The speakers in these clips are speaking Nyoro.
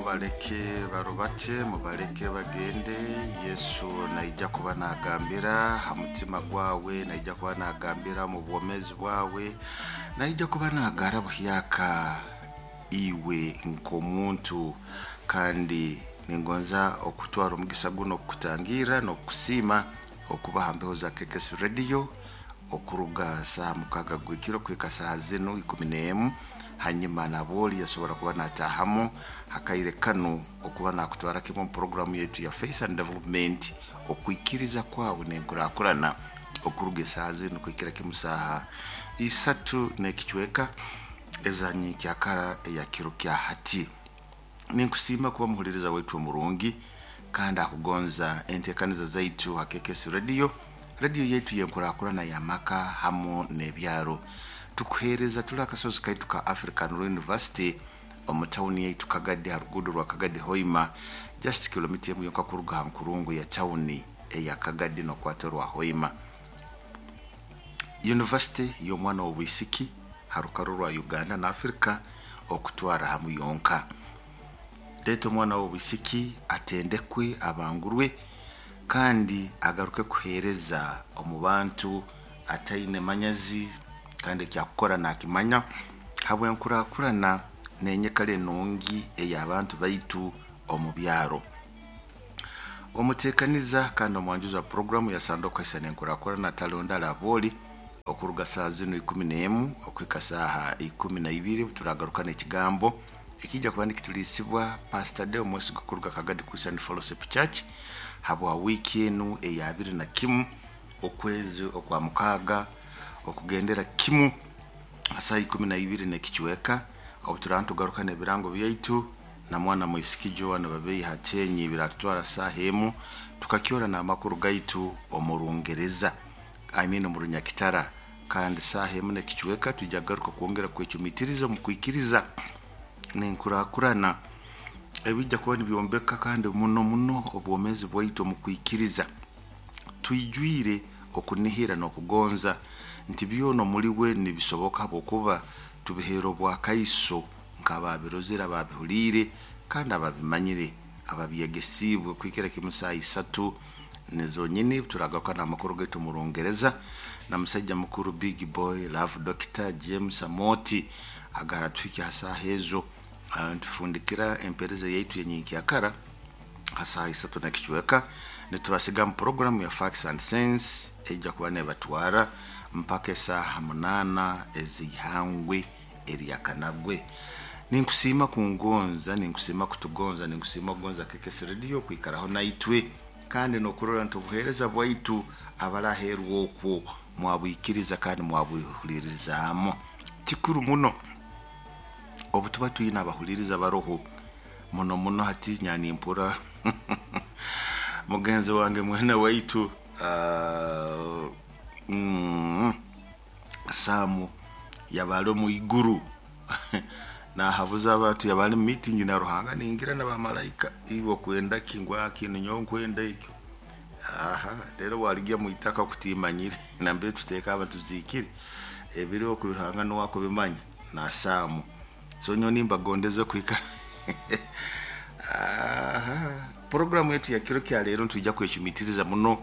Mubaleke barubate, mubaleke bagende. Yesu naija kuba nagambira ha mutima gwawe, naija kuba nagambira mu bwomezi bwawe, naija kuba nagara buhyaka iwe nk'omuntu. Kandi ningonza okutwara omugisa guno okukutangira n'okukusiima okuba ha mbeho za KKS Radio okuruga saaha 6 gw'ekiro kuhika saaha zinu 11. Hanyuma nabwoli yasobora kuba natahamu hakaire kanu okuba nakutwara kimu omu programu yaitu ya Faith and Development, okwikiriza kwawe nenkurakurana, okuruga esaaha zinu kuhikira kimu saaha 3 n'ekicweka ezanyenkyakara eya kiro kya hati. Ninkusiima kuba muhuliriza waitu omurungi kandi akugonza entekaniza zaitu ha KKS Radio, radio yaitu yenkurakurana y'amaka hamu n'ebyaro. Tukuheereza tuli akasozi kaitu ka African Law University omu tawuni yaitu Kagadi, ha ruguudo rwa Kagadi Hoima, just kilomita emu yonka kuruga ha nkurungu ya tawuni eya Kagadi n'okwata orwa Hoima. University y'omwana w'obwisiki ha rukaru rwa Uganda na Afrika okutwara hamu yonka. Leeta omwana w'obwisiki atendekwe, abangurwe, kandi agaruke kuheereza omu bantu ataine manyazi, kandi ekyakukora nakimanya habw'enkurakurana n'enyikara enungi ey'abantu baitu omu byaro. Omuteekaniza kandi omwanjuzi wa puroguramu ya Sanduku Esa n'Enkurakurana Talondala Abooli, okuruga saaha zinu 11 okuhika saaha 12 turagaruka n'ekigambo ekijja kuba nikituliisibwa Pastor Deo Mwesiga kuruga Kagadi Christian Fellowship Church habwa wiiki enu eya 21 okwezi okwa 6 okugendera kimu saaha 12 n'ekicweka. Obu turaba nitugaruka n'ebirango byaitu na mwana mwisiki Joan Babeyi Hatenyi biratutwara saaha emu tukakyora n'amakuru gaitu omu Rungereza, I mean omu Runyakitara, kandi saaha emu n'ekicweka twija kugaruka kwongera kwecumitiriza omu kwikiriza n'enkurakurana ebijja kuba nibyombeka kandi muno muno obwomeezi bwaitu omu kwikiriza. Twijwire okunihira n'okugonza nti byona omuli we nibisoboka, habwokuba tubiheera obwakaiso nk'ababirozere, ababihuliire, kandi ababimanyire, ababyegesiibwe. Kuhikira kimu saaha 3 nizonyini turagaruka n'amakuru gaitu omu Rungereza na musaija mukuru Big Boy Love Dr James Amoti agaratuhikya ha saaha ezo. Ntufundikira empereza yaitu yenyenkyakara ha saaha 3 n'ekicweka, nitubasiga mu programu ya Facts and Sense ejja kuba nebatwara mpaka esaaha 8 ez'ihangwe eryakanagwe. Ninkusiima kungonza, ninkusiima kutugonza, ninkusiima kugonza KKS Radio kwikaraho naitwe, kandi n'okurora nti obuheereza bwaitu abaraheerwa okwo mwabwikiriza kandi mwabwihuririzaamu. Kikuru muno obu tuba twine abahuliriza baroho muno muno. Hati nyanimpura mugenzi wange mwene waitu Samu yabali omu iguru nahabuza abantu, yabali mu meeting na Ruhanga ningira na bamalaika, iwe okwenda ki? Ngu kinu nyowe nkwenda ekyo. Aha rero waligya mu itaka kutimanyire nambere tuteeka abantu tuzikire ebiriho ku Ruhanga niwe akubimanya na Samu. So nyowe nimbagondeze kwikara. Aha programu yetu ya kiro kya leero nitwija kwecumitiriza muno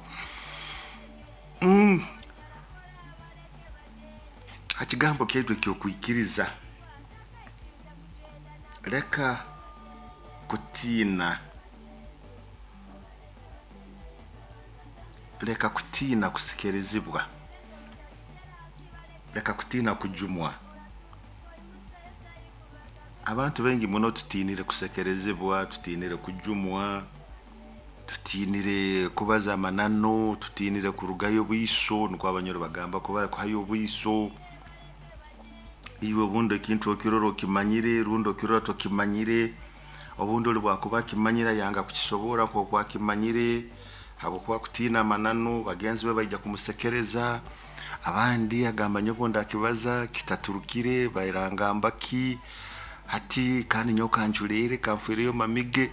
ha kigambo kyaitu ekyokwikiriza. Leka kutiina, leka kutiina kusekerezibwa, leka kutiina kujumwa. Abantu baingi muno tutiinire kusekerezibwa, tutiinire kujumwa, tutiinire kubaza amananu, tutiinire kurugayo obwiso, nukwo abanyoro bagamba kuba kuhayo obwiso. Iwe obundi ekintu okirora okimanyire, rundi okirora tokimanyire, obundi oli bwakuba akimanyire ayanga kukisobora nk'oku akimanyire, habwokuba kutiina amananu, bagenzi be baija kumusekereza. Abandi agamba nyowe obundi akibaza kitaturukire, bairangamba ki hati, kandi nyowe kanculeere kanfiireyo mamige.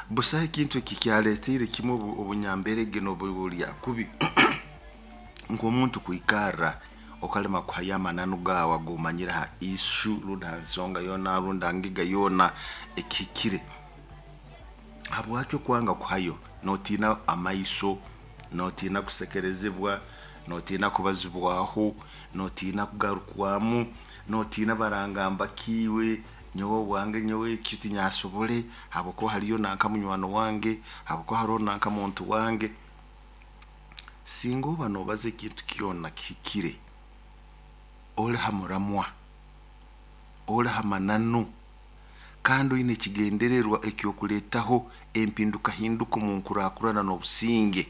Busaho ekintu eki kyaletiire kimu obunyamberege n'obulya kubi nk'omuntu kwikarra Okalema kuhayo amananu gaawe ag'omanyire ha issue rundi ha nsonga yoona rundi ha ngiga yoona ekihikire. Habwaki okwanga kuhayo? Notiina amaiso, notiina kusekerezibwa, notiina kubazibwaho, notiina kugarukwamu, notiina barangamba kiiwe, nyowe wange nyowe ekyo tinyasobole habwokuba haliyo nanka munywani wange, habwokuba haroho nanka muntu wange. Singa oba nobaza ekintu kyona kihikire, oli ha muramwa, oli ha mananu, kandi oine ekigendererwa eky'okuleetaho empindukahinduka omu nkurakurana n'obusinge,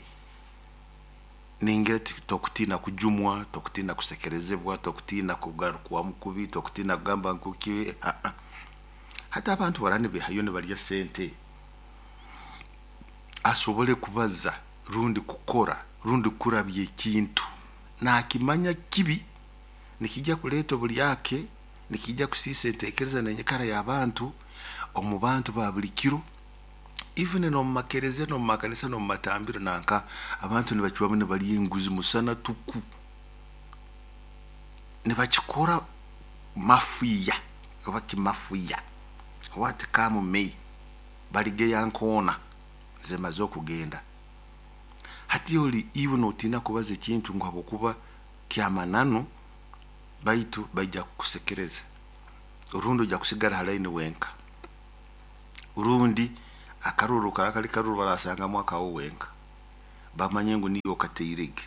ningira tokutiina kujumwa, tokutiina kusekerezebwa, tokutiina kugarukwamu kubi, tokutiina kugamba ngu ki. Hati abantu baraba nibeehayo nibarya sente asobole kubaza rundi kukora rundi kurabya ekintu, naakimanya kibi, nikijja kuleeta obulyake, nikijja kusiisa enteekereza n'enyikara y'abantu omu bantu ba buli kiro, even n'omu makereziya n'omu makanisa n'omu matambiro nanka abantu nibacwamu nibarya enguzi musana tuku. Nibakikora mafiya oba kimafiya, what come may, baligeya nkoona zimaze okugenda. Hati oli iwe notiina kubaza ekintu ngu habwokuba ky'amananu, baitu baija kukusekereza, rundi ojja kusigara ha line wenka, rundi akaruru kara kali karuru barasangamu akawe wenka, bamanye ngu niiwe okateirege.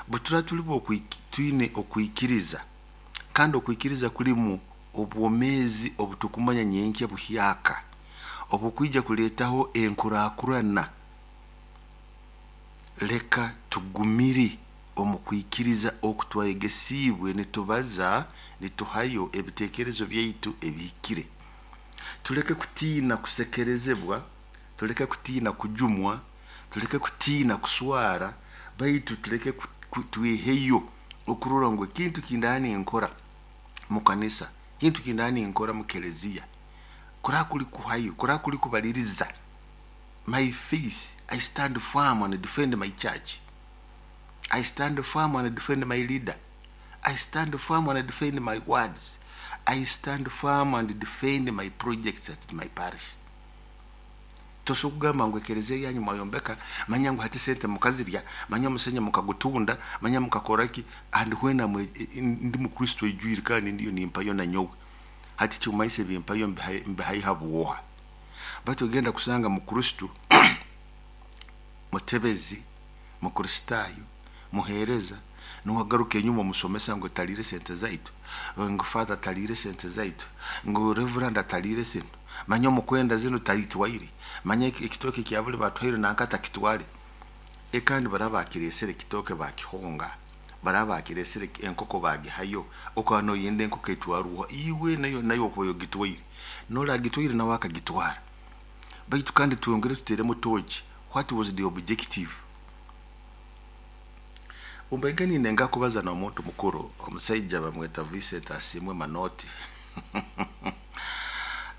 Bwe tuli twine okwikiriza, kandi okwikiriza kulimu obwomeezi obutukumanya nyenkya buhyaka, obukwija kuleetaho enkurakurana, leka tugumire omu kwikiriza oku twayegesiibwe nitubaza, nituhayo ebiteekerezo byaitu ebihikire. Tuleke kutiina kusekerezebwa, tuleke kutiina kujumwa, tuleke kutiina kuswara, baitu tuleke tweheyo okurora ngu ekintu kindaba ninkora mu kanisa, ekintu kindaba ninkora mu kereziya, kuraba kuli kuhayo, kuraba kuli kubaliriza, my face, I stand firm and defend my church. I stand firm and defend my leader. I stand firm and defend my words. I stand firm and defend my projects at my parish. Tosobola kugamba ngu ekereziya yanyu mwayombeka, manya ngu hati sente mukazirya, manya omusenyi mukagutunda, manya mukakora ki, and when I'm ndi mukristo ejwire kandi ndiyo nimpayo na nyowe. Hati kyumanyisa ebimpayo mbihaiha bwoha. Baitu ogenda kusanga mukristo, mutebezi, mukristaayo, muheereza, niwagaruka enyuma omusomesa ngu taliire sente zaitu, ngu father taliire sente zaitu, ngu reverend ataliire zinu, manya omukwenda zinu talitwaire, manya ekitooke kya buli batuhaire nanka atakitwale. Kandi baraba bakireesere ekitooke bakihonga, baraba bakireesere enkoko bagihayo, okaba noyenda enkoko etwarwa iwe nayo nayo okuba ogitwaire, noragitwaire nawe akagitwara. Baitu kandi twongere tuteeremu tochi, what was the objective? Umbaige ninenga kubaza n'omuntu mukuru, omusaija bamweta Vincent Asiimwe Manoti.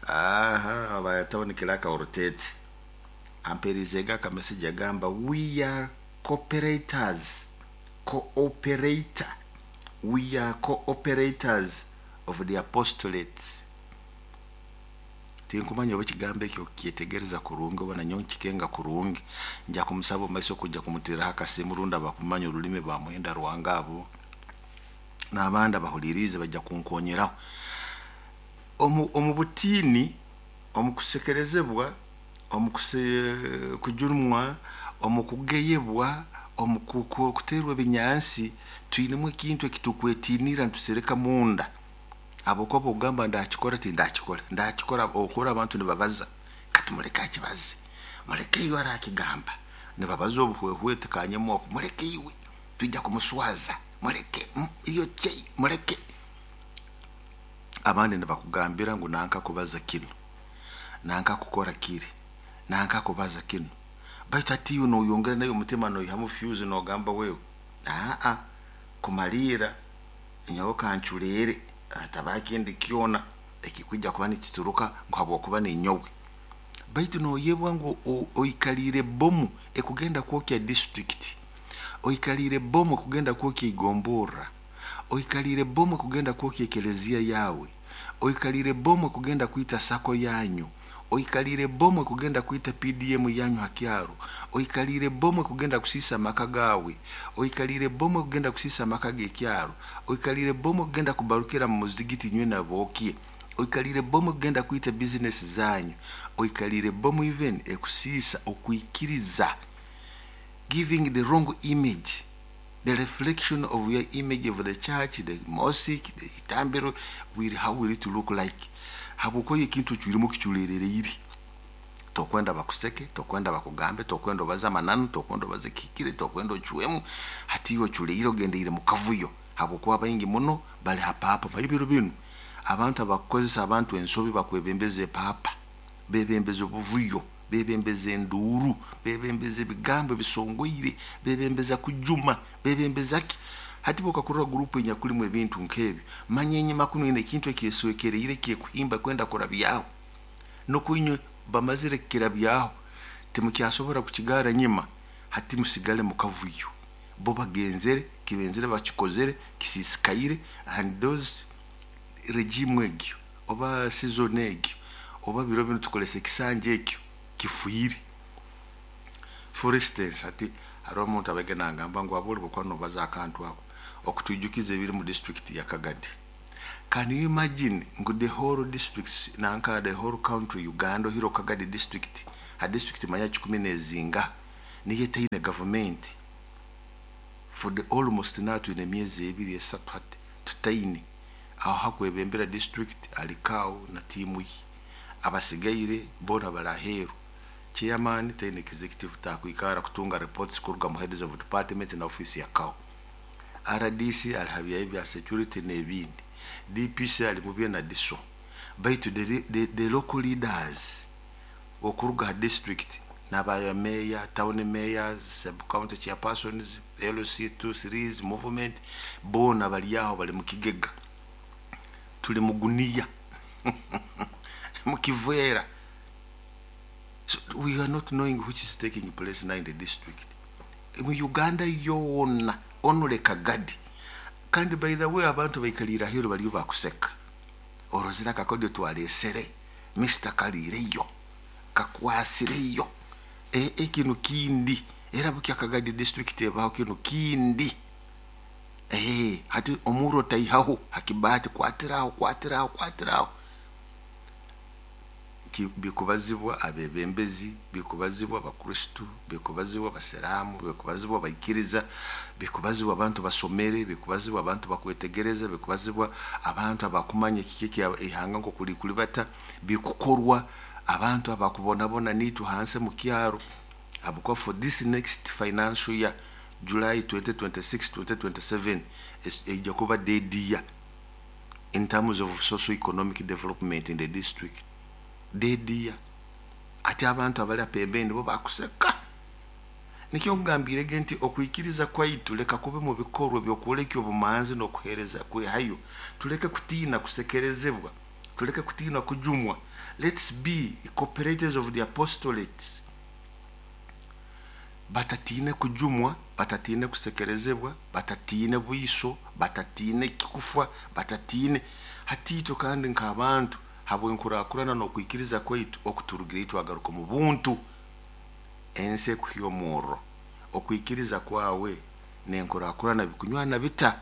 Aha, bayataho kiraka orutete. Ampeerizeega akamessage agamba, we are cooperators, cooperator. We are cooperators of the apostolate. Tinkumanya oba ekigambo ekyo kyetegereza kurungi oba nanyowe nkikenga kurungi. Nja kumusaba omu maiso kujja kumuteeraho akasimu rundi abakumanya orulimi bamuhenda rwanga abo n'abandi abahuliriize bajja kunkonyeraho. Omu butiini, omu kusekerezebwa, omu kujumwa, omu kugeyebwa, omu kuteerwa ebinyansi, twinemu ekintu ekitukwetiinira nitusereka munda. Habwokuba ogamba ndakikora tindakikora, ndakikora okora abantu nibabaza, katumuleke akibaze, muleke iwe arakigamba, nibabaza obuhwehwete kanyemu oku, muleke iwe, twijja kumuswaza, muleke, iyo chei, muleke. Abandi nibakugambira ngu nanka kubaza kinu, nanka kukora kiri, nanka kubaza kinu. Baitu hati iwe noyongera nayo omutima noyihamu fuse nogamba wewe, aa kumaliira nyowe kanculeere, hatabaho ekindi kyona ekikwija kuba nikituruka ngu habwokuba ninyowe. Baitu noyebwa ngu oikaliire bomu ekugenda kwokya district, Oikaliire bomu kugenda kwokya igomborra. Oikaliire bomu kugenda kwokya ekeleziya yawe. Oikaliire bomu kugenda kwita sako yanyu. Oikaliire bomu kugenda kwita PDM yanyu ha kyaro. Oikaliire bomu kugenda kusiisa amaka gawe. Oikaliire bomu kugenda kusiisa amaka g'ekyaro. Oikaliire bomu kugenda kubarukira mu muzigiti nywe nabokye. Oikaliire bomu kugenda kwita bizinesi zanyu. Oikaliire bomu even ekusiisa okwikiriza, giving the wrong image, the reflection of your image of the church, the mosque, the itambiro, will how will it look like? Habwokuba ekintu ocwiremu kiculerereire. Tokwenda bakuseke, tokwenda bakugambe, tokwenda obaze amananu, tokwenda obaze kihikire, tokwenda ocwemu. Hati iwe oculeire ogendeire mu kavuyo, habwokuba baingi muno bali ha paapa. Ebiro binu abantu abakukozesa abantu ensobi bakwebembeza epaapa, bebembeza obuvuyo, bebembeza enduuru, bebembeza ebigambo ebisongoire, bebembeza kujuma, bebembeza ki. Hati bwokakurora gurupu enyakulimu ebintu nk'ebyo, manya enyuma kunu ine ekintu ekyeswekereire kyekuhimba kwenda kurabyaho. Nukwo inywe bamazire kukirabyaho, timukyasobora kukigara nyima, hati musigale mu kavuyo. Bo bagenzere, kibenzere bakikozere, kisisikaire, and those regime egyo oba season egyo oba biro binu tukolesa ekisanja ekyo kifuire. For instance, hati hariho omuntu abaige nangamba ngu aboli bwokuba nobaza akantu ako okutwijukiza ebiri mu district ya Kagadi. Can you imagine ngu the whole district nanka the whole country Uganda ohiro Kagadi district, ha district manya 10 niyo etaine government for the almost now twine emyezi 2, 3 hati tutaine. Aho hakwebembera district alikaawo na tiimu ye, abasigaire boona bali aheeru. Chairman taine executive, takwikara kutunga reports kuruga mu heads of department na office ya CAO. RDC ali ha byaye bya security n'ebindi. DPC ali mu bye na DISO. Baitu the local leaders okuruga ha district n'aba mayor, town mayors, sub county chairpersons, LC 2 3 movement, boona bali aho bali mu kigega, tuli muguniya mukiveera. So we are not knowing which is taking place now in the district, mu Uganda yoona, only Kagadi. Kandi by the way, abantu baikalire aheeru baliyo bakuseka. Orozire akakodyo twalesere, Mr kaliireyo kakwasireyo ekinu kindi era bukya Kagadi district ebaho kinu kindi. Hati omuro taihaho hakibati, kwatiraho, kwatiraho, kwatiraho. Bikubazibwa abebembezi, bikubazibwa abakristu, bikubazibwa abasiramu, bikubazibwa abaikiriza, bikubazibwa abantu basomere, bikubazibwa abantu bakwetegereza, bikubazibwa abantu abakumanya kiki ihanga nkokuli kulibata, bikukorwa abantu abakubonabona nitu hansi mu kyaro. Habwokuba for this next financial year, July 2026 2027, ejja kuba dead year in terms of socio economic development in the district, dead year. Ate abantu abali apembeni bo bakuseka. Nikyo nkugambirege nti okwikiriza kwaitu leka kube mu bikorwa byokwoleka obumanzi n'okuheereza kwehayo. Tuleke kutiina kusekerezebwa, tuleke kutiina kujumwa. Let's be cooperators of the apostolates, batatiine kujumwa, batatiine kusekerezebwa, batatiine bwiso, batatiine kikufa, batatiine. Hati itwe kandi nk'abantu habwenkurakurana n'okwikiriza kwaitu okuturugire twagaruka mu buntu, ensi ekuhya omurro. Okwikiriza kwawe nenkurakurana bikunywana bita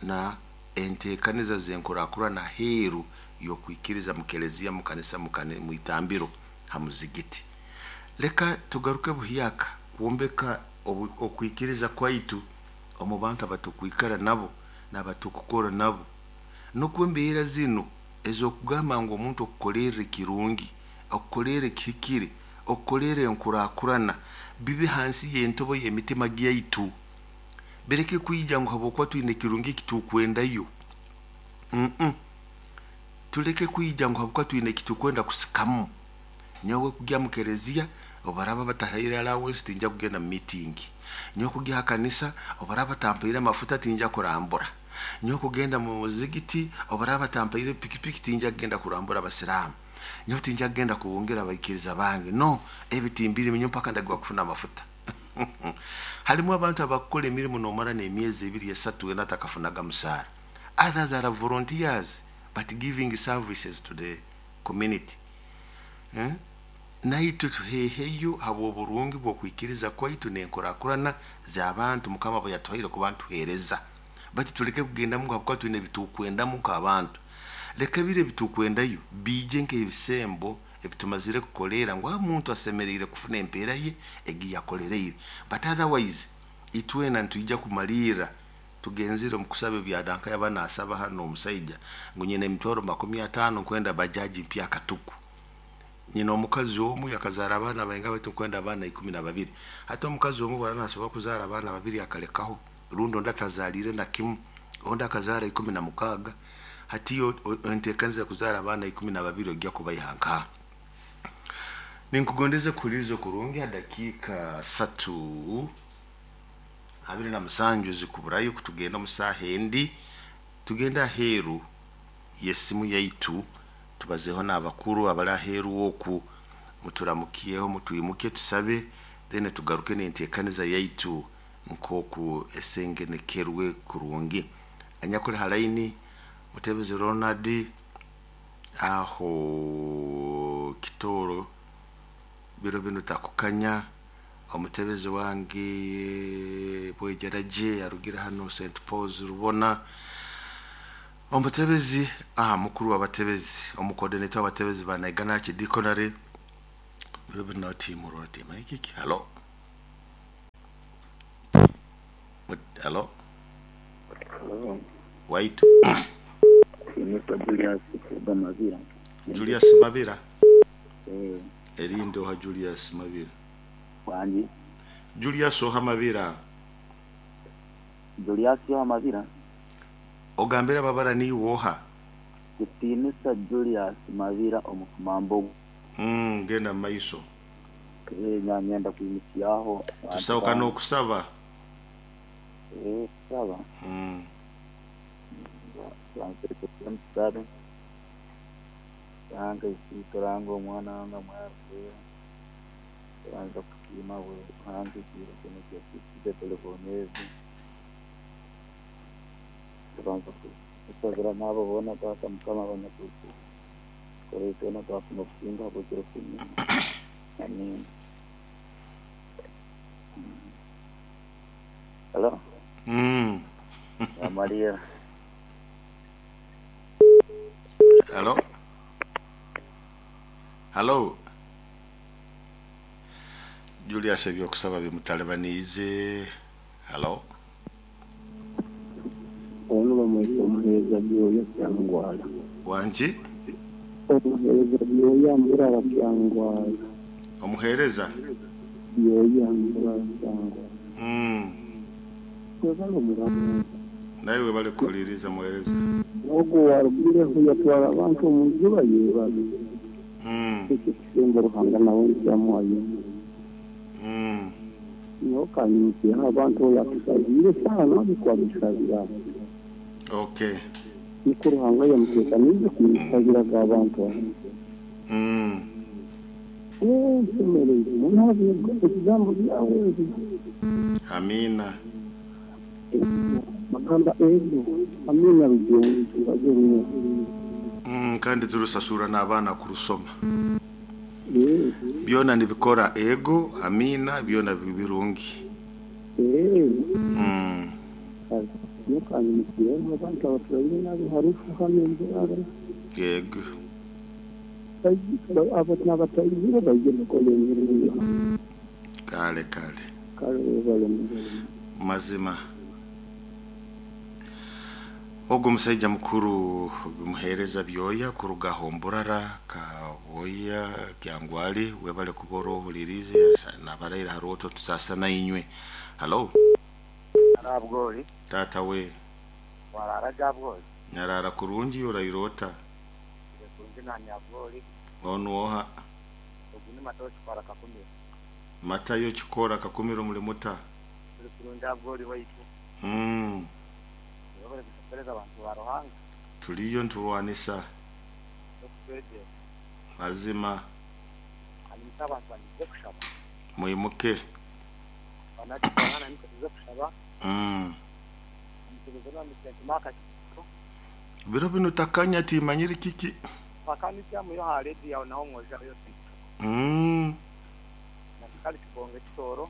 na enteekaniza zenkurakurana aheeru y'okwikiriza mu keleziya, mu kanisa, mu itambiro, ha muzigiti? Leka tugaruke buhyaka kwombeka okwikiriza kwaitu omu bantu abatukwikara nabo n'abatukukora nabo, nukwo embeera zinu ez'okugamba ngu omuntu okukolerra ekirungi, okukolerra ekihikire, okukolerra enkurakurana bibe hansi y'entobo y'emitima gyaitu. Bireke kwija ngu habwokuba twine ekirungi ekitukwendayo. Tuleke kwija ngu habwokuba twine ekitukwenda kusikamu. Nyowe kugya mu kereziya obaraba batahaire allowance, tinja kugenda mu meeting. Nyowe kugya ha kanisa obaraba batampaire amafuta, tinja kurambura. Nyowe kugenda mu muzigiti obaraba batampaire pikipiki, tinja kugenda kurambura abasiraamu. Nyowe tinja kugenda kubungira abaikiriza bange, no ebi timbirimu nyowe mpaka ndagwa kufuna amafuta. Halimu abantu abakukora emirimu nomara n'emyezi 2 3 wena atakafunaga musaara. Others are volunteers but giving services to the community. Naitwe tuheheyo habw'oburungi bw'okwikiriza kwaitu n'enkurakurana z'abantu Mukama abo yatuhaire kuba ntuheereza. Bati tuleke kugendamu habwokuba twine ebitukwendamu nk'abantu. Leka biri ebitukwendayo biije nk'ebisembo ebitumazire kukoleera ngu muntu asemeriire kufuna empeera ye egiyakolereire. But otherwise itwena nitwija kumalirra tugenzire omu kusaba ebyadanka yaba nasaba hano omusaija ngu nyina emitwaro 50 nkwenda bajaji mpya katuku. Nyina omukazi omu yakazaara abaana bainga bati nkwenda abaana 12. Hati omukazi omu bwana nasobora kuzaara abaana babiri akalekaho, rundi ondi atazaalire na kimu, ondi akazaara 16. Hati enteekaniza kuzaara abaana 12 ojja kubaiha nkaha? Ninkugondeze kuhuliriza okurungi ha dakiika 3 27 zikuburayo kutugenda omu saaha endi, tugenda aheeru y'esimu yaitu tubazeeho n'abakuru abali aheeru oku, muturamukyeho mutwimuke tusabe, then tugaruke n'enteekaniza yaitu nk'oku esengenekerwe kurungi. Anyakuli ha line Mutebezi Ronald aho Kitooro biro binu takukanya, omutebezi wange Bwejaraje arugire hano St Paul's Rubona, omutebezi mukuru w'abatebezi omucoordinator w'abatebezi ba Naigana Archdeaconry biro binu timurora timaikiki. Halo, halo. Waitu. Nitwa Julius Kuga Mabira. Julius Mabira. Erinde oha Julius Mabira. Wangi. Julius oha Mabira. Julius oha Mabira. Ogambira babara ni woha. Kitinisa Julius Mabira omukumambo. Genda maiso. Nyamyenda kuyimisyaho. Tusauka n'okusaba. Kusaba. Tusabe. Ranga isituranga omwana wanga mwera. Tubanza kusiima Ruhanga ekiro kino kyatusize tuli bomeezi. Tubanza kusabira n'abo boona Taata Mukama abanyakutu. Tukore twena twafuna okusinga habw'ekiro kino. Amiina. Hello? Maria. Hello? Hello? Julius ebyokusaba bimutalibaniize. Hello? Ono bamwita omuheereza Byoya Kyangwala. Wangi? Omuheereza Byoya Mburara Kyangwala. Omuheereza? Byoya Mburara Kyangwala. Webale omuramu. Naye webale kuhuliriza muheereza. Ogwo warugireho yatwara abantu omu njuba yeebale. Ekyo kisembo Ruhanga nawe nkyamuhayo. Nyowe kanyimukyeho abantu oyo atusabiire sana nabikwamusabira. Okay. Niko Ruhanga yamuteekaniize kumusabiraga abantu abo. Nsemereire muno ebigambo byawe ebi. Amina. Bagamba ebyo amina rugyonzi. Kandi turusasura n'abaana kurusoma. Byona nibikora ego amina byona birungi. Yego. Kale kale. Mazima. Ogwo omusajja mukuru bimuheereza Byoya kuruga Homburara Kaboya Kyangwali webale kuba orohulirize nabaraira haroto tusasana inywe. Hello? Arabwoli. Tata we. Warara jabwoli. Nyarara kurungi orairota. Kurungi na nyabwoli. Onu oha. Oguni matayo chikora kakumiro. Matayo chikora kakumiro muli muta. Kurungi abwoli waitu. Abantu ba Ruhanga. Tuliyo nturwanisa. Mazima. Mwimuke. Banakibana nikutuze kushaba. Omutebezo na misente maka. Biro bino takanya timanyire kiki. Pakani kya muyo ha radio yawe naho mwoja yo. Na kali kibonge kitoro.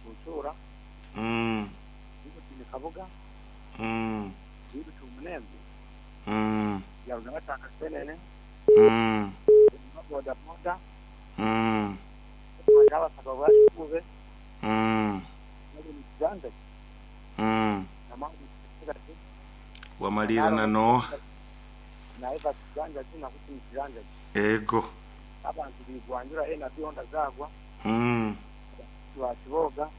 Kutura. Niko kabuga. Niko tumunembe. Ya unataka senene. Boda boda. Majala sababu kube. Ndio. Na mambo wamalira na no naeva kiganja kina kuti kiganja ego abantu bigwanjura ena bihonda zagwa twakiboga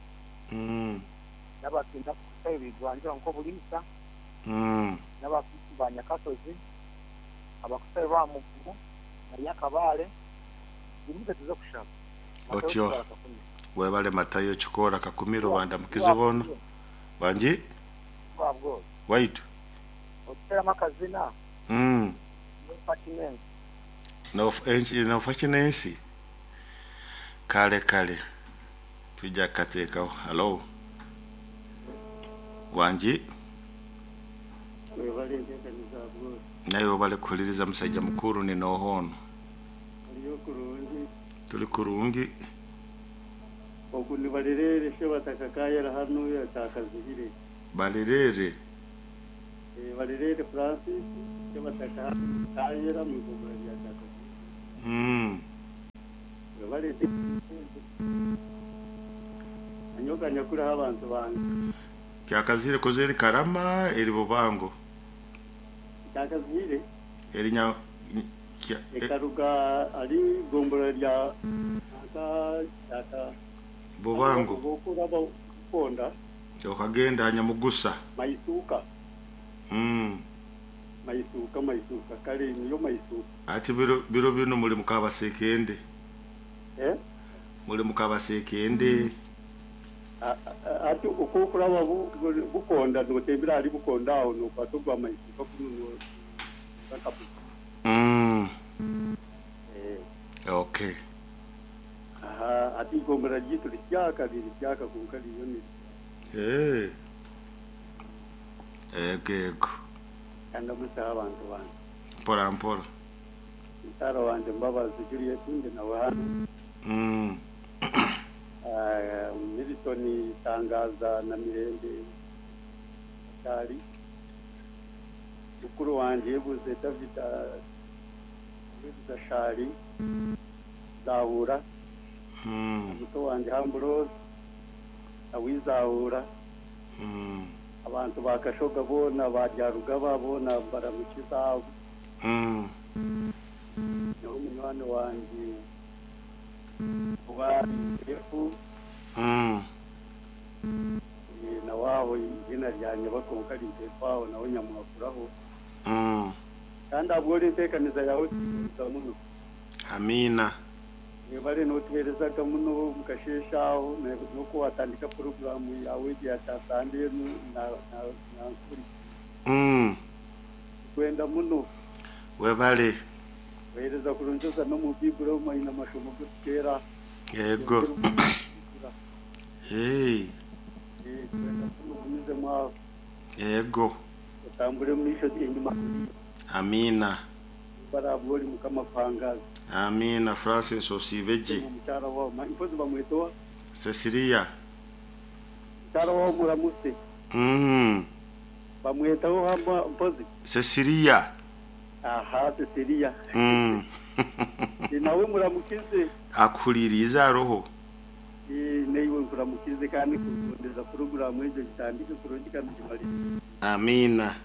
n'abakinda kusayo bigwanjura nko bulisa n'abakuti ba Nyakasozi abakusayo ba Mugumu na Nyakabale bimuze tuze kushaba otyo webale Matayo chikora kakumiro banda mukizibono banji babwo waitu otera makazina no no fashinensi kale kale tujja kateekawo. Hello wanji naye obale kuhuliriza musajja mukuru ni nohono tuli kurungi okuni balirere shebatakakayera hano yatakazihire balirere balirere Francis shebataka kayera mu gobra yatakazihire balete anyoka nyakura abantu bange kyakazire kozeri karama eri bubango kyakazire erinya ekaruga ali gombora lya aka bubango bokura bakonda okagenda anyamugusa maisuka maisuka kale niyo maisuka ati biro bino muri mukabasekende muri mukabasekende ati ukukura bukonda notembera ali bukonda aho nopatogwa maisuka kuno bakapu okay aha ati gombora jitu lyaka lyaka kunkali yoni ego kanda musa abantu bantu mpora mpora mutara wanje mbabazi Juliet ndi nawe hano Milton Tangaza na Mirembe Kali mukuru wanje yebuze David yebuze Shari Zahura muto wanje Ambrose awizahura abantu bakashoga bona baryaruga bona baramukiza no munywani wanje wa efu na waho izina ryanye bakonka rintefaho nawe nyamwakuraho kandi abwo rintekaniza yawe muno amina bari notuherezaga muno mukasheshaho nuko watandika programu yawe yatasande na nkuri kwenda muno webale wehereza kurunjoza no mu biburo mayina mashomo gutera yego hey yego utambure mwisho inyuma amina barabori mukamapanga amina Francis Osibeji mukyara wa impozi bamwetoa Cecilia mukyara wa muramuse bamwetaho hamba mpozi Cecilia aha Cecilia nawe muramukize akuliriza roho neiwe nkuramukize kandi kugondeza programu ejo gitandike kurungi kandi kimali amina.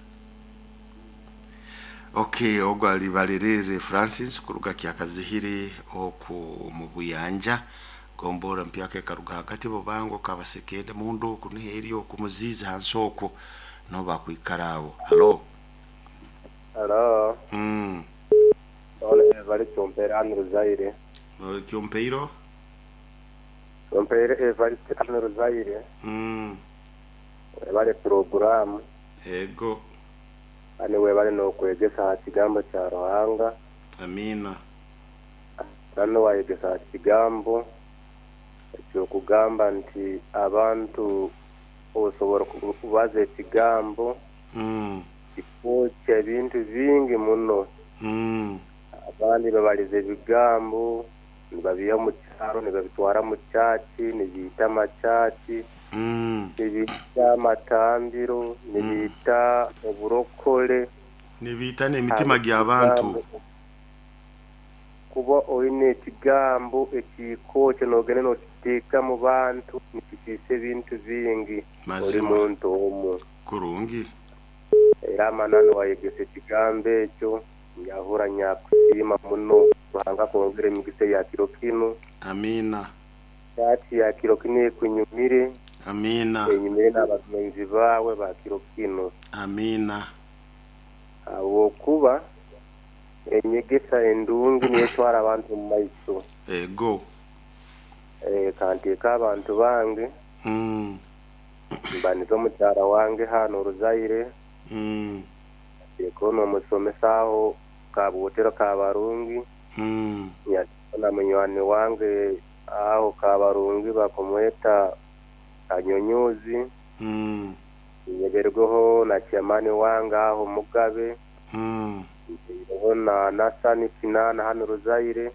Okay, ogwo ali balirere Francis kuruga kyakazihiri oku mu buyanja gombora mpyake karuga hagati bubango kabasekende mundu kuniheri okumuziza hansoko no bakwikarawo. Hello hello ole bali chompera anruzaire no kyompeiro chompere bali anruzaire bali program ego ani we bali no kwegesa kigambo cha Ruhanga amina. Nano wayegesa kigambo ekyokugamba nti abantu osobola kubaza ekigambo kikokya ebintu bingi muno. Abandi babaliza ebigambo nibabiha mu kyaro nibabitwara mu church nibiita amachachi nibiita amatambiro nibiita oburokole nibiita n'emitima gy'abantu. Kuba oine ekigambo ekikokya nogenda nokiteeka mu bantu nikisiisa ebintu bingi. Oli muntu omu kurungi. Era amananu wayegesa ekigambo ekyo nyahura nyakusiima muno. Ruhanga kwongera emigisa ya kiro kinu. Amina. Chati ya kiro kinu ekunyumire. Amina. Enyumire n'abagenzi bawe ba kiro kinu. Amina. Ahabwokuba enyegesa endungi niyo etwara abantu mu maiso. Ego. Kanteeka abantu bange. Mbaniza omukyara wange hano Oruzaire. Nteeka n'omusomesa aho Kabutero Kabarungi. Na munywani wange aho Kabarungi bakumweta Kanyonyuzi. Nyeberweho na chairman wange aho Mugabe. Na Nasani Kinana hano Ruzaire.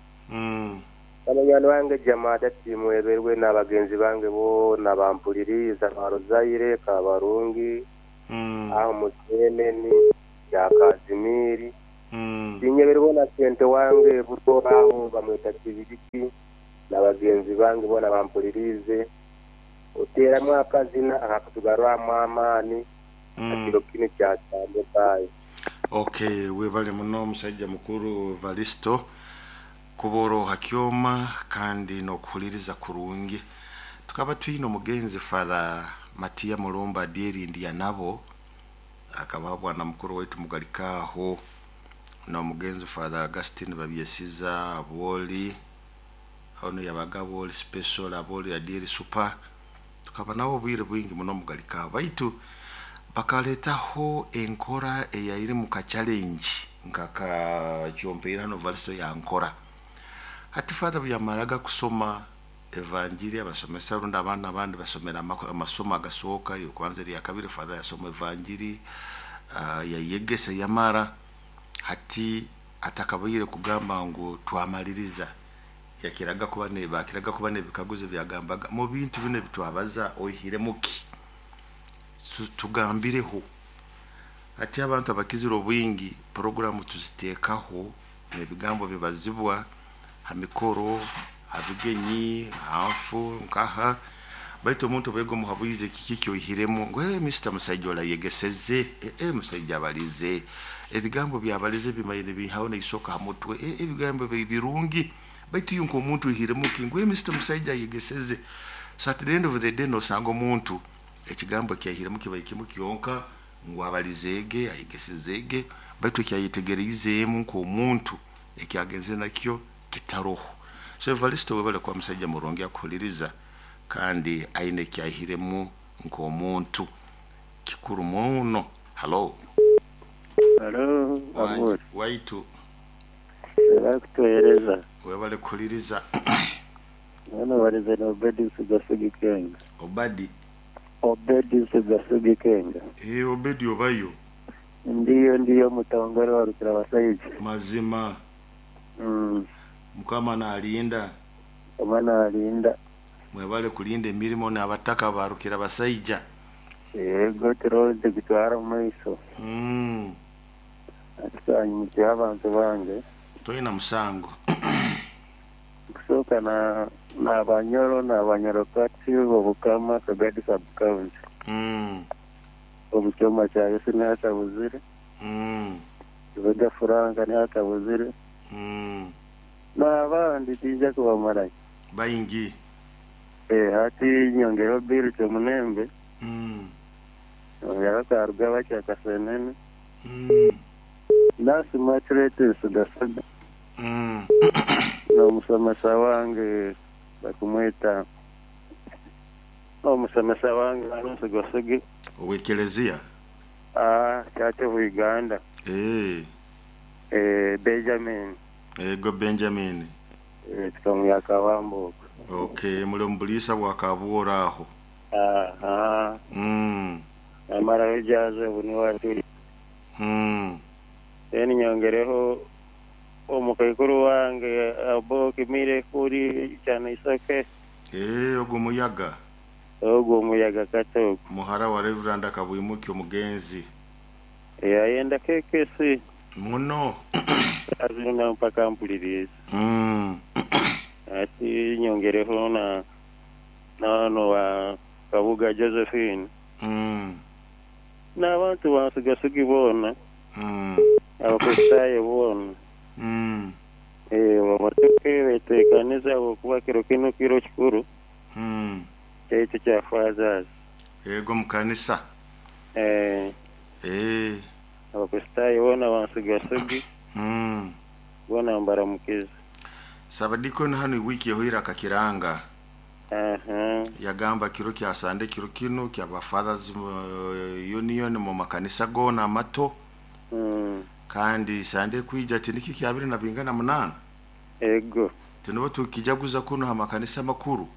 Abanywani bange Jamada timweberwe n'abagenzi bange bo bampuliriza ba Ruzaire Kabarungi. Aho Musenene ya Kazimiri. Tinyeberwe na sente wange butoraho bamweta Kibiriki n'abagenzi bange bona bampulirize. Oteramu akazina akatugarwamu amaani akiro kinu kyatambukayo. Okay, webale muno musajja mukuru Valisto kuboro hakyoma kandi nokuhuliriza kurungi. Tukaba twine omugenzi Father Matia Mulumba Dierindi nabo akaba bwana mukuru wetu mugalikaho na omugenzi Father Augustine Babyesiza Aboli ono yabaga Aboli special Aboli Adieri super. Tukaba nabo bwire bwingi muno mugalikaho baitu bakaletaho enkora eyairi mu ka challenge nkaka kyompeera no Valisto ya nkora. Hati Father buyamaraga kusoma evanjiri abasomesa runda abana abandi basomera amasomo agasooka yokwanza ya kabiri Father yasoma evanjiri yayegesa yamara. Hati atakabaire kugamba ngu twamaliriza yakiraga kuba ne bakiraga kuba nebikaguzo byagambaga mu bintu bino bitwabaza oihire muki tugambireho. Ati abantu abakizira obwingi programu tuziteekaho nebigambo bibazibwa hamikoro abigenyi hafu nkaha baitu omuntu bwego muhabuize kiki kyoihiremu ngo Mr. Musajja yegeseze musajja abalize ebigambo byabalize bimayine bihawo neisoka hamutwe ebigambo birungi baitu yunko omuntu ihiremu ki ngo Mr. Musajja yegeseze. So at the end of the day no sanga omuntu ekigambo kyahiremu kibaye kimu kyonka ngo abalizege ayegesezege baitu kyayetegereizemu nko omuntu ekyagenze nakyo kitaroho. So Evaristo webale kwa musajja murungi akuhuliriza kandi aine kyahiremu nko omuntu kikuru muno. Hello. Hello, Aburi. Waitu. Kutuhereza. Webale kuhuliriza. Nano walize na Obedi Sugasugi Kenga. Obadi. Obedi Sugasugi Kenga. Obedi obayo. Ndiyo mutongore wa Rukira Basaija. Mazima. Mukama na alinda. Mukama na alinda. Mwebale kulinda emirimo n'abataka ba Rukira Basaija. Yego turonde gutwara mu maiso. Atanyimutse abantu bange. Toyina musango. Kusoka na Banyoro na Banyarokati obukama Kagadi sub county. Obukyoma kya Yesu n'atabuzire. Vega Franka n'atabuzire. N'abandi tija kubamara. Bayingi. Hati nyongero biru kyomunembe. Nyongero karuga kyakasenene. Nasi matrete sugasaga. N'omusomesa wange bakumweta. N'omusomesa wange anusugasigi. Owekelezia? Church of Uganda. Benjamin. Ego Benjamin. Tukamya kabambo. Okay, muli omubulisa bwakabwora aho. Aha. Amara ejaze buni watu. Then nyongereho omukaikuru wange abo kimire kuri cyane isoke. Ogwo muyaga. Ogwo muyaga kato. Muhara wa Reverend Akabwimuki omugenzi. Yayenda kekesi. Muno. Azina mpaka mpuliriza. Ati nyongereho na no wa Kabuga Josephine. N'abantu bansigasugi bona. Abakristaayo bona. Babatuke beteekaniza okuba kiro kino kiro kikuru. Ekyo kya fathers. Ego mukanisa. Abakristaayo bona bansigasugi. Bona mbaramukiza. Sabadikoni hano wiki ehoire akakiranga. Yagamba kiro kya Sande kiro kino kya ba Fathers Union mu makanisa gona amato. Kandi Sande kwija tiniki kya 28. Ego. Tinobo tukijaguza kuno ha makanisa makuru.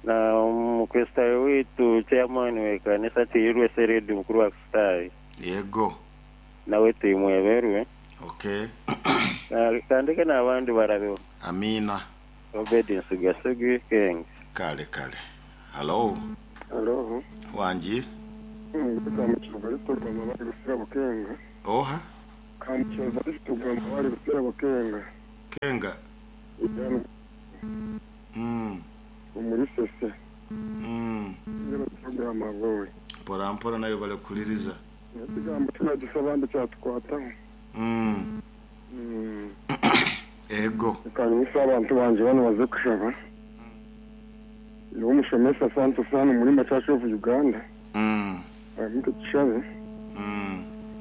Na mukristayo witu chairman we kanisa tiyirwe seredi mukuru wa Kristayo. Yego. Nawe timweberwe. Okay. Na kandike n'abandi barabeho. Amina. Obedience Gasugi King. Kale kale. Hello. Hello. Wanji. Oha. Kenga. Umurisese. Mpora mpora nayo bale kuliriza. Ekigambo tunadusaba cyatukwataho. Ego. Kanisa abantu banje bano baze kushaba. Yo mushomesa Santo Sano muri Church of Uganda. Amuke tushabe.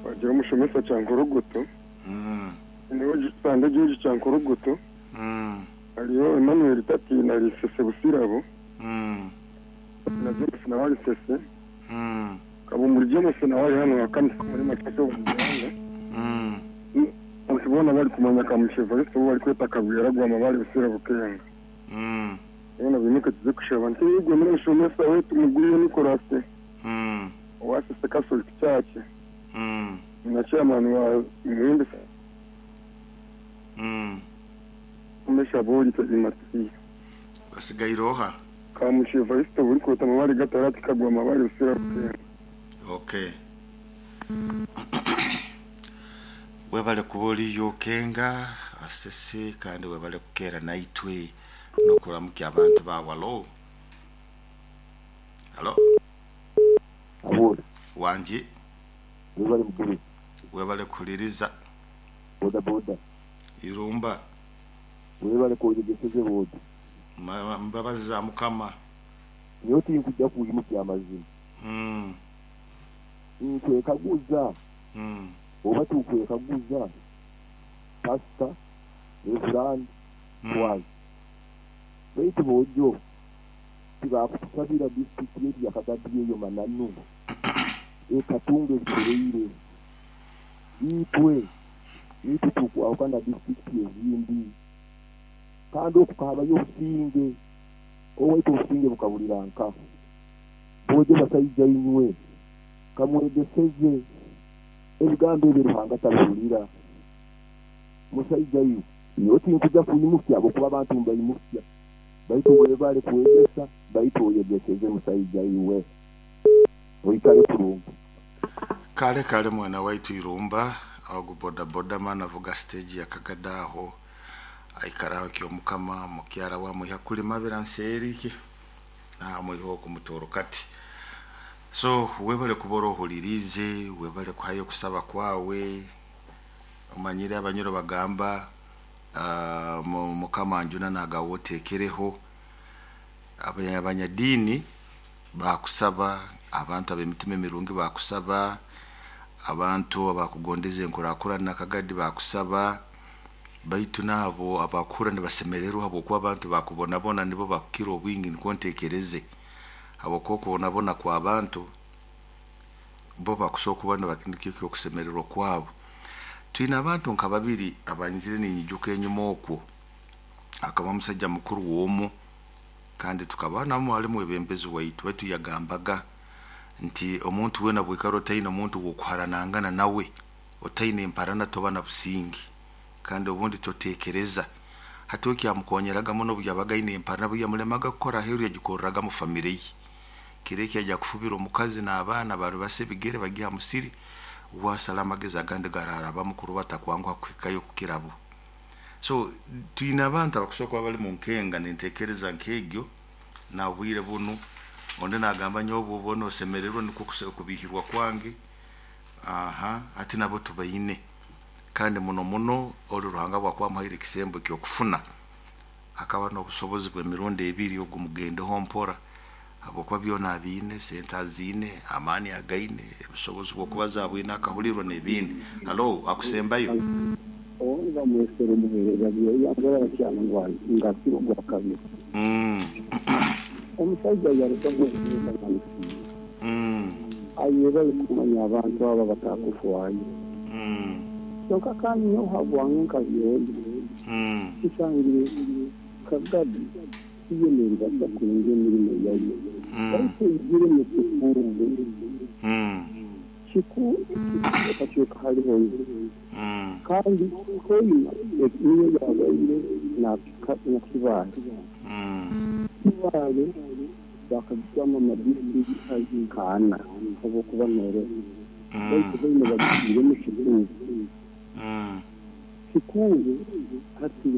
Bagira mushomesa cyankorogoto. Niho gisande gihugu cyankorogoto. Ariyo Emmanuel Tati na Lisese Busirabo. Na James na Walisese. Kabo muri James na wali hano akanisa muri Church of Uganda. Ukibona bari kumanya kamushevariste bo bari kweta kabwira gwama bari busira bukenga. Bona bimuke tuze kushaba nti yigwe muri mushomesa wetu muguriye Nicolas. Wasese Catholic Church. Na chairman wa Muhimbi. Umesha boli tazimati. Basigairoha. Kamushevariste buri kweta mabari gatarati kagwama bari busira bukenga. Okay. Webale kuboli yokenga asese kandi webale kukera naitwe nokuramukia abantu bawalo. Halo. Abo. Wanji. Webale mukuru. Webale kuliriza. Boda boda. Irumba. Webale kujegeseze boda. Mbabazi za mukama. Nyoti nkujja kuyimukia amazima. Nkwekaguza. Oba tukwekaguza pastor reverend twazi baitu bojo tibakutusabira district yetu yakagadiye eyo mananu ekatunga ebikoreire itwe itwe tukwawukana district ezindi kandi okukahabayo obusinge owaitu obusinge bukabulira nka bojo basaija inywe kamwegeseze ebigambo ebyo Ruhanga tabihulira musaija yu yoti nkuja kuyimufya abokuba abantu mbayimufya baitu webale kuwegesa baitu oyegeseze musaija iwe oikale kurungi. Kale kale mwana waitu Irumba ago boda boda mana vuga stage ya Kagadaho aikaraho kyo mukama mukyara wa muya kulima biranserike na muyiho kumutoro kati. So webale kuboro hulirize webale kuhayo kusaba kwawe umanyire abanyoro bagamba mukama njuna nagawotekereho abanyadini bakusaba abantu abemitima emirungi bakusaba abantu abakugondeze enkurakura nakagadi bakusaba baitu nabo abakura nibasemererwa habwokuba abantu bakubonabona nibo bakukira obwingi niko ntekereze habwokuba kubonabona kwa abantu bo bakusobola kuba nibakintu okusemererwa kwabo. Twine abantu nka babiri abanyizire ninyijuka enyuma okwo. Akaba omusajja mukuru w'omu, kandi tukaba namu ali mwebembezi waitu, baitu yagambaga nti omuntu wena bwikara otaine omuntu w'okuharanangana nawe, otaine emparana toba na businge, kandi obundi totekereza. Hati okyamukonyeraga muno obu yabaga aine emparana, obu yamulemaga kukora aheeru yagikorraga mu famire ye. Kiro eki yajya kufubira omukazi n'abaana baribasa ebigere bagiha musiri, wasala amagezi agandi gararabamu kuruba atakwanguha kuhikayo kukirabo. So twine abantu abakusobola kuba bali mu nkenga n'entekereza nk'egyo na bwire bunu. Ondi nagamba nyowe obwo osemererwa nikwo kubihirwa kwange. Aha, hati nabo tubaine. Kandi muno muno oli Ruhanga bwakuba amuhaire ekisembo eky'okufuna, akaba n'obusobozi bw'emirundi ebiri ogumugendeho mpora, habwokuba byona abiine, sente aziine, amaani againe, obusobozi bw'okubaza abwine, akahulirwa n'ebindi. Halo, akusembayo. Obu bamwesera omuheereza yangora bakyana ngu ngakira ogwa kabiri. Omusaija yarugamu ayebale kumanya abantu aba batakufwayo. Kyonka kandi nyowe habwange nka byondi kisangire kagadi iyo neribasa kurungi emirimo yayo. Baitu eigire mu kikungu. Kikuuka haliho. Kandi hoima niyo yabaire na Kibaale. Kibaale bakagitwama amadistrict nkaana habwokuba noroho. Baitu baine bagitiiremu kikungu. Kikungu hati.